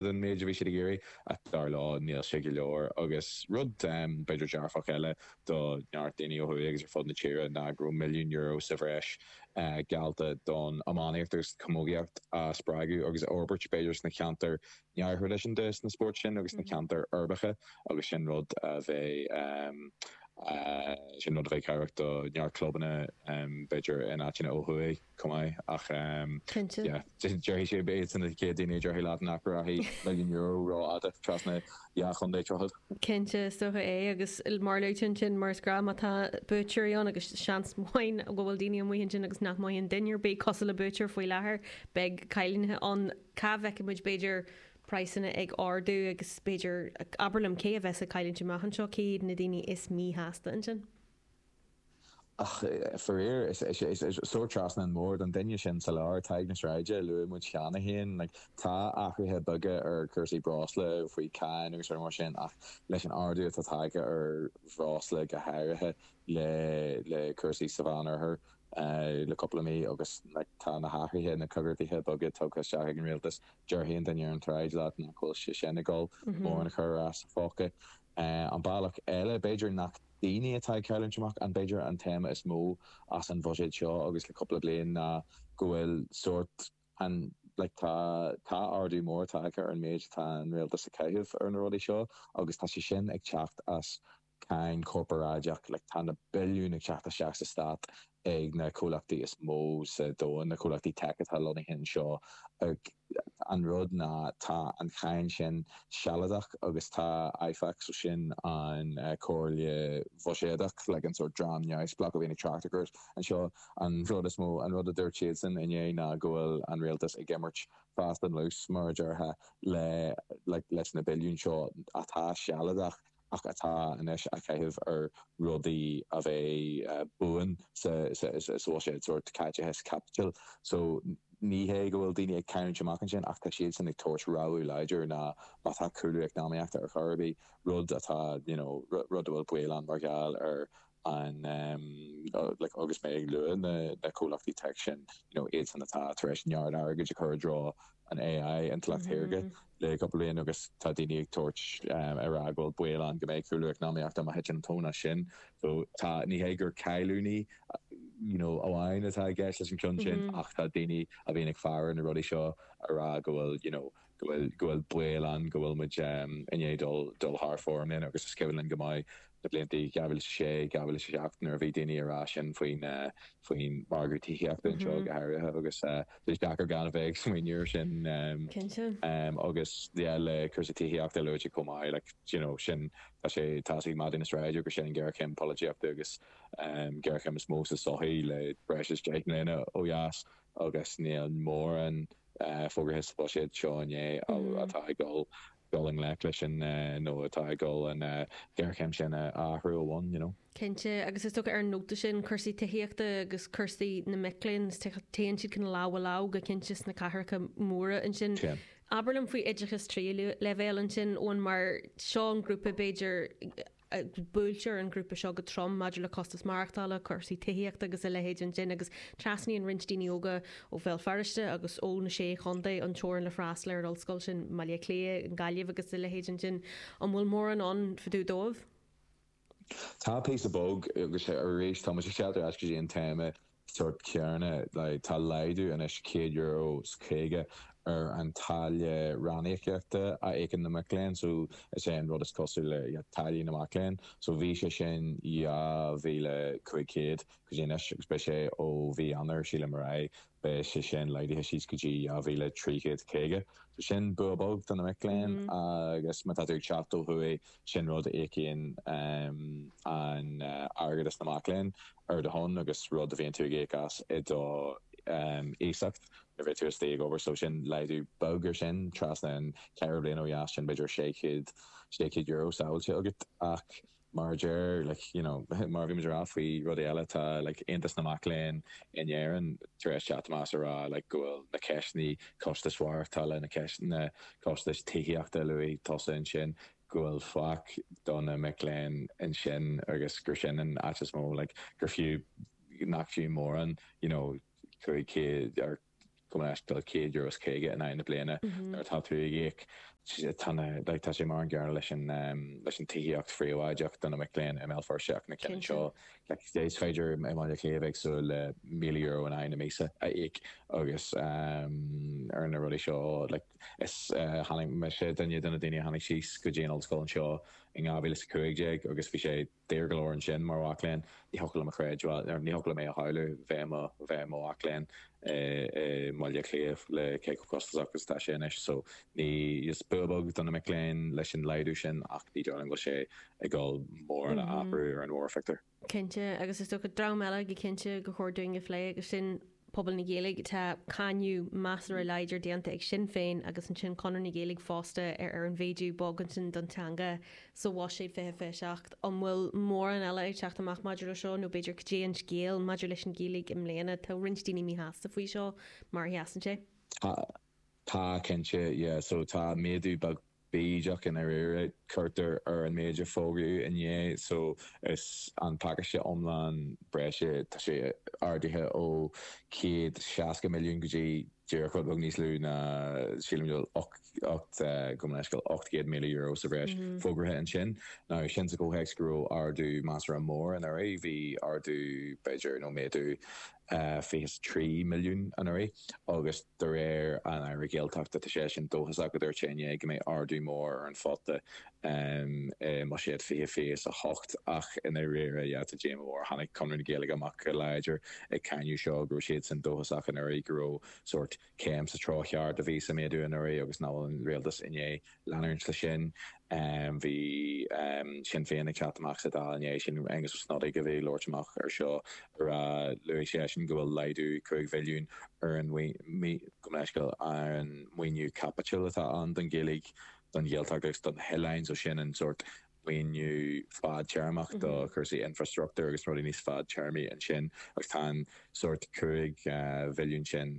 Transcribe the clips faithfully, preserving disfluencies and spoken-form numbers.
Den méid a bhí siad ag iarraidh, ach dar leo níl sé go leor. Agus rud b'fhéidir dearfach eile do neart daoine ó thuaidh agus ar fud na tíre ná go raibh milliún euro sa bhreis geallta don iománaíocht agus camógaíocht a spreagadh agus a fhorbairt, b'fhéidir sna ceantair neamhthraidisiúnta sna spóirt sin agus sna ceantair uirbeacha, agus sin rud a bheidh sin rud a bheidh cabhrach do neart clubanna b'fhéidir in áiteanna ó thuaidh chomh maith. Ach Cinnte. yeah, déarfaidh sé iad san na chéad daoine a déarfaidh leat nach rachaidh milliún euro rófhada trasna dhá chontae tríochad. Cinnte, is dócha é, agus mar luaigh tú ansin, mar is gnách, má tá buaiteoirí ann, agus seans maith go bhfuil daoine amuigh ansin agus nach mothaíonn duine ar bith cosúil le buaiteoir faoi láthair, beidh cailliúintí ann. Cá bhfeicfidh muid b'fhéidir praghsanna ag ardú agus b'fhéidir, abair liom, cé a bheas ag cailliúint amach anseo, cé hiad na daoine is míshásta ansin? Ach faraor, is sórt trasna an bhord, an duine sin sa lár, Tadhg na Sráide, a luaigh muid cheana féin. Like, tá athruithe beaga ar chúrsaí breosla faoi cháin agus rudaí mar sin, ach leis an ardú atá tagtha ar bhreosla go háirithe le le cúrsaí sa Mheánoirthear le cúpla mí agus like, tá na hathruithe, na coigeartuithe beaga tugtha isteach ag an rialtas, déarfaidh an duine ar an tsráid leat nach bhfuil sé sin ag dul mórán a chur as a phóca. An bealach eile, b'fhéidir nach daoine atá ag cailliúint amach, an b'fhéidir an téama is mó as an bhuiséad seo agus le cúpla bliain ná go bhfuil sórt an like tá tá ardú mór tagtha ar an méid atá an rialtas ag caitheamh ar na rudaí seo agus tá sé sin ag teacht as cáin chorparáideach. Like tá na billiúin ag teacht isteach sa stát ag na comhlachtaí is mó sa domhan, na comhlachtaí tech atá lonnaithe anseo. An rud ná tá an cháin sin sealadach agus tá I F A C, so sin an Comhairle Bhuiséadach, like an sórt dream neamhspleách a bhíonn ag trácht air anseo, an rud is mó, an rud a dúirt siadsan inné ná go bhfuil an rialtas ag imirt fast and loose, mar a déarfá, le like leis na billiúin seo atá sealadach ach atá anois á chaitheamh ar rudaí a bheidh buan sa bhuiséad, sórt caiteachas caipitil. So ní hé go bhfuil daoine ag cailliúint amach ansin, ach tá siadsan ag tabhairt rabhadh láidir ná má tá cúlú eacnamaíochta ar chor ar bith, rud atá you know rud a bhfuil baol ann mar gheall ar an like agus mé ag lua na na comhlachtaí tech sin, you know iadsan atá tar éis neart airgid a chur i dtreo an A I, intleacht shaorga, le cúpla bliain, agus tá daoine ag tabhairt ar rá go bhfuil baol ann go mbeidh cúlú eacnamaíochta má thiteann an tóin as sin. So tá ní hé gur cailliúintí you know amháin atá i gceist leis an ceann sin, ach tá daoine a bhíonn ag faire na rudaí seo a rá go bhfuil you know go bhfuil go bhfuil baol ann go bhfuil muid i ndiaidh dul dul thar fóir i mbliana. Agus is cuimhin linn go maith na blianta dhá mhíle is a sé, dhá mhíle is a seacht, nuair a bhí daoine ag rá sin faoin faoin margadh tithíochta anseo go háirithe, agus is deacair gan a bheith ag smaoineamh air sin. Cinnte. Agus yeah, le cúrsaí tithíochta luaite chomh maith, like you know sin tá sé tá ag maidí na sráide gur sin an géarchéim polaitíochta agus géarchéim is mó sa sochaí le breis is deich mbliana ó dheas, agus níl mórán fógartha sa bhuiséad seo inné atá ag dul dul i ngleic leis sin nó atá ag dul an géarchéim sin a athrú ó bhonn you know. Cinnte, agus is dócha ar an nóta sin, cúrsaí tithíochta agus cúrsaí na mic léinn, téann siad chun lámh i lámh go cinnte sna cathracha móra ansin. Abair liom faoi oideachas tríú leibhéal ansin ón mar seo an grúpa, b'fhéidir buailtear an grúpa seo go trom maidir le costas maireachtála, cúrsaí tithíochta agus a leithéid ansin, agus trasnaíonn roinnt daoine óga ó Bhéal Feirste agus ó na sé chontae an teorainn le freastal ar an ollscoil sin, Baile Átha Cliath, Gaillimh agus a leithéid ansin. An bhfuil mórán ann fadú dóibh? Tá píosa beag, agus arís tá muid ag teacht ar ais go dtí an téama sórt céanna, like tá laghdú anois céad euro is caoga ar an táille ranníocaíochta a íocann na mic léinn, so is é an rud is cosúil le yeah, táillí na mac léinn. So bhí sé sin dhá mhíle cúig chéad go dtí anois, agus beidh sé ó mhí Eanáir, sílim, ar aghaidh, beidh sé sin laghdaithe síos go dtí dhá mhíle trí chéad caoga. So sin bua beag do na mic léinn, agus má tá tú ag teacht ó thuaidh, sin rud a íocann um, an uh, airgeadas na mac léinn ar do shon agus rud a bhíonn tú ag íoc as i do um, iasacht nuair bheidh tú istigh ag obair. So sin laghdú beag ar sin trasna an ceithre bliana ó dheas sin, b'fhéidir sé chéad sé chéad euro sábháilte agat. Ach mar deir like you know mar bhí rá faoi rudaí eile, tá like Aontas na Mac Léinn in Éirinn tar éis teacht amach a rá like go bhfuil na ceisteanna costais mhaireachtála, na ceisteanna costais tithíochta luaigh tusa ansin, go bhfuil faic do na mic léinn ansin agus gur sin an áit is mó like gur fiú nach fiú mórán you know cúig chéad ar gabh mo leithscéal céad euro is caoga in aghaidh na bliana nuair atá tú ag íoc. Tá na like tá sé mar an gcéanna leis an leis an tithíocht phríobháideach do na mic léinn i mBéal Feirste ach na cinn anseo like is féidir i mBaile Átha Cliath bheith ag súil le míle euro in aghaidh na míosa a íoc agus ar na rudaí seo like is tháinig mise duine de na daoine a tháinig síos go dtí an ollscoil anseo in dhá mhíle is a cúig déag agus bhí sé daor go leor ansin mar mhac léinn. Ní thiocfadh liom a chreidbheáil, ní thiocfadh liom é a shamhlú bheith i mo bheith i mo mhac léinn i mBaile Átha Cliath le cé chomh costasach is atá sé anois. So ní is bua beag do na mic léinn leis an laghdú sin ach ní dóigh liom go bhfuil sé ag dul mórán a athrú ar an mhórphictiúr. Cinnte, agus is dócha dream eile go cinnte gur chóir dúinn a phlé agus sin pobal na Gaeilge. Tá cáineadh measartha láidir déanta ag Sinn Féin agus ansin Conradh na Gaeilge fosta ar ar an mhéadú beag ansin don teanga sa Bhuiséad fiche fiche seacht. An bhfuil mórán eile ag teacht amach maidir le seo nó b'fhéidir cad é an scéal maidir leis an Ghaeilge i mbliana? Tá roinnt daoine míshásta faoi seo mar a sheasann sé. Tá, tá cinnte, yeah. So tá méadú beag bídeach i ndáiríre cuirtear ar an méid a fógraíodh inné so is an pacáiste iomlán breise tá sé ardaithe ó céad seasca milliún go dtí díreach rud beag níos lú ná sílim go bhfuil ocht gabh mo leithscéal ocht gcéad míle euro sa bhreis fógraithe ansin. Now sin sa chomhthéacs go raibh ardú measartha mór anuraidh, bhí ardú b'fhéidir nó méadú fiche is trí milliún anuraidh agus de réir an Aire Gaeltachta tá sé sin dóchasach, a dúirt sé inné, go mbeidh ardú mór ar an phota i mBuiséad fiche fiche is a hocht ach i ndáiríre yeah tá díomá mhór. Tháinig Conradh na Gaeilge amach go láidir ag cáineadh seo go raibh siadsan dóchasach anuraidh go raibh sórt céim sa treo cheart a bhí sa méadú anuraidh agus nach bhfuil an rialtas i ndiaidh leanúint leis sin. Bhí Sinn Féin ag teacht amach sa Dáil inné, sin Aengus Ó Snodaigh a bhí ag labhairt amach ar seo, a rá, luaigh seisean go bhfuil laghdú cúig mhilliún ar an gabh mo leithscéal, ar an maoiniú caipitil atá ann don Ghaeilge, don Ghaeltacht agus do na hoileáin, so sin an sórt maoiniú fadtéarmach do chúrsaí infrastruchtúir agus rudaí níos fadtéarmaí ansin agus tá an sórt cúig mhilliún sin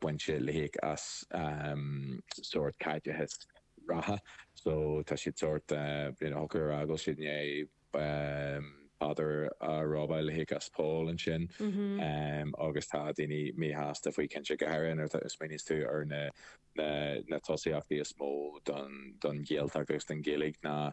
bainte le híoc as sórt caiteachas reatha so tá siad sórt you know thiocfadh a rá go bhfuil siad i ndiaidh paidir a robáil le híoc as poll ansin agus tá daoine míshásta faoi cinnte go háirithe nuair a smaoiníonns tú ar na na tosaíochtaí is mó don don Ghaeltacht agus don Ghaeilge ná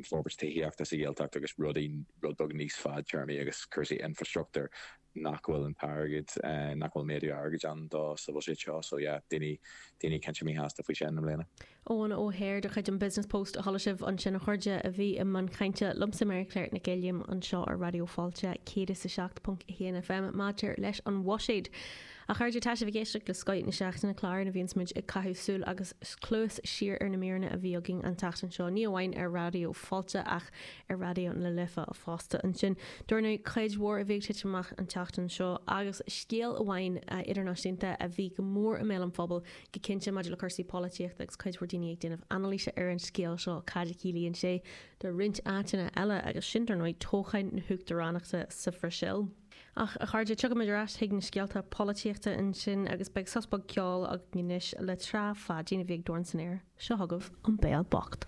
forbairt tithíochta sa Ghaeltacht agus rudaí rud beag níos fadtéarmaí agus cúrsaí infrastruchtúir nach bhfuil an t-airgead, nach bhfuil méadú airgid ann dó sa bhuiséad seo. So yeah, daoine, daoine cinnte míshásta faoi sin i mbliana. Eoin Ó hEithir de chuid an Business Post a chuala sibh ansin a chairde a bhí i mbun cainte liomsa Mary Claire Nic Uilliam anseo ar Raidió Fáilte céad is a seacht ponc a haon FM maidir leis an bhuiséad. A chairde, tá sibh ag éisteacht le Scoth na Seachtaine, clár ina bhíonns muid ag caitheamh súil agus cluas siar ar na míreanna a bhí againn an tseachtain seo, ní amháin ar Raidió Fáilte ach ar Raidió na Life fosta. Ansin, dar ndóigh, cuid mhór a bhí ag titim amach an tseachtain seo agus scéal amháin idirnáisiúnta a bhí go mór i mbéal an phobail, go cinnte maidir le cúrsaí polaitíochta agus cuid mhór daoine ag déanamh anailíse ar an scéal seo, cad a chiallaíonn sé do roinnt áiteanna eile agus sin, dar ndóigh, toghchán na huachtaránachta sa Bhrasaíl. Ach, a chairde, tiocfaimid ar ais chuig na scéalta polaitíochta ansin agus beidh sos beag ceoil againn anois le Trá Pháidín a bhí ag dorn san aer. Seo chugaibh An Béal Bocht.